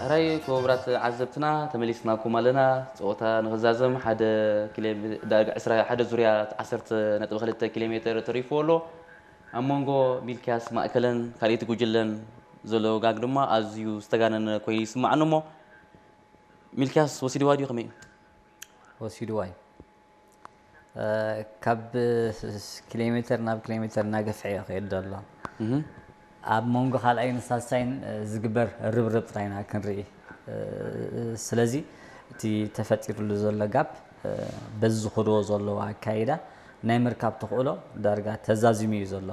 ሕራይ ክቡራት ዓዘብትና፣ ተመሊስናኩም ኣለና። ፀወታ ንክዛዘም ሓደ ኪሎ ሜ- ዳርጋ ዕስራ ሓደ ዙርያ ዓሰርተ ነጥቢ ክልተ ኪሎ ሜትር ተሪፍዎ ኣሎ። ኣብ መንጎ ሚልክያስ ማእከለን ካልኣይቲ ጉጅለን ዘሎ ጋግ ድማ ኣዝዩ ዝተጋነነ ኮይኑ ይስማዓኒ እሞ፣ ሚልክያስ ወሲድዋ ድዩ ከመይ እዩ? ወሲድዋ እዩ። ካብ ኪሎ ሜትር ናብ ኪሎ ሜትር እናገፍሐ እዩ ክኸይድ ዘሎ። ኣብ መንጎ ካልኣይን ሳልሳይን ዝግበር ርብርብ ጥራይ ኢና ክንርኢ። ስለዚ እቲ ተፈጢሩሉ ዘሎ ጋፕ በዚ ዝኸድዎ ዘለዉ ኣካይዳ ናይ ምርካብ ተኽእሎ ዳርጋ ተዛዚሙ እዩ ዘሎ።